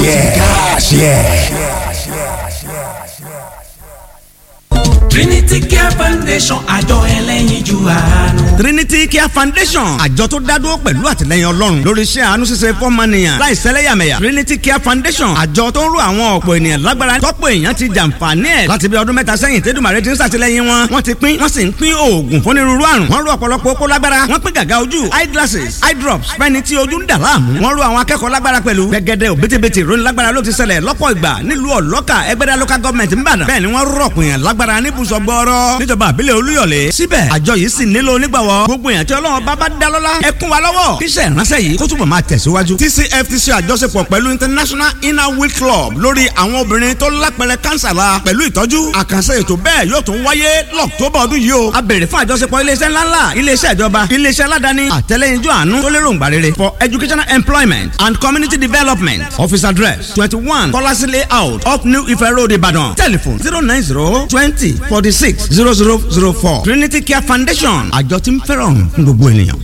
Ẹ̀ káàṣì ẹ̀. Trinity Care Foundation, àjọ ẹlẹ́yinjú àánú. Trinity Care Foundation, àjọ tó dádúró pẹ̀lú àtìlẹyìn Ọlọ́run lórí iṣẹ́ àánú ṣíṣe fọ́mọnìyàn láì sẹ́lẹ̀yàmẹ̀yà. Trinity Care Foundation, àjọ tó ń rú àwọn ọ̀pọ̀ ènìyàn lágbára, tọ́pọ̀ èèyàn ti jàǹfààní ẹ̀ láti bí ọdún 3 sẹ́yìn tẹ́dùmàrè ti ń ṣàtìlẹyìn wọn. Wọ́n ti pín, wọ́n sì ń pín oògùn fúnirúurú àrùn. Wọ́n rú ọ̀pọ̀lọpọ̀ okó lágbára. Wọ́n pín gàgà ojú, eye glasses, eye drops fẹ́ni tí ojú ń dà láàmú. Wọ́n rú àwọn akẹ́kọ̀ọ́ lágbára pẹ̀lú. Gẹ́gẹ́dẹ́ òbítíbitì ìròyìn lágbára ló ti ṣẹlẹ̀ lọ́pọ̀ ìgbà nílùú Ọ̀lọ́kà, Ẹgbẹ́dá local government ń Ìbàdàn. Bẹ́ẹ̀ ni wọ́n rọ̀pọ̀ èèyàn lágbára níbùsọ̀ gbọ́rọ́ níjọba àbílẹ̀ Olúyọ̀lé. Síbẹ̀ àjọ yìí sì nílò onígbàwọ́. Gbogbo èèyàn tí Ọlọ́run bá bá dá lọ́lá, ẹ kún wa lọ́wọ́ kíṣẹ́ ìránṣẹ́ yìí kó túbọ̀ máa tẹ̀síwájú. TCF ti ṣe àjọṣepọ̀ pẹ̀lú International Inner Wheel Club lórí àwọn obìnrin tó lápẹrẹ kánsà la pẹ̀lú ìtọ́jú. Àkànṣe ètò bẹ́ẹ̀ yóò tún wáyé lọ́któbà ọdún yìí o. A béèrè fún àjọṣepọ̀ iléeṣẹ́ ńláńlá, iléeṣẹ́ ìjọba, iléeṣẹ́ aládàáni, àtẹlẹ́yinjú àánú tó lérò ńgbà rere for educational, employment and community development. Office address: 21 Kọ́lásí Layout, up New Ife Road, Ìbàdàn. Telephone: 090 20 46 00 04. Trinity Care Foundation, àjọ tí ń fẹ́ràn fún gbogbo ènìyàn.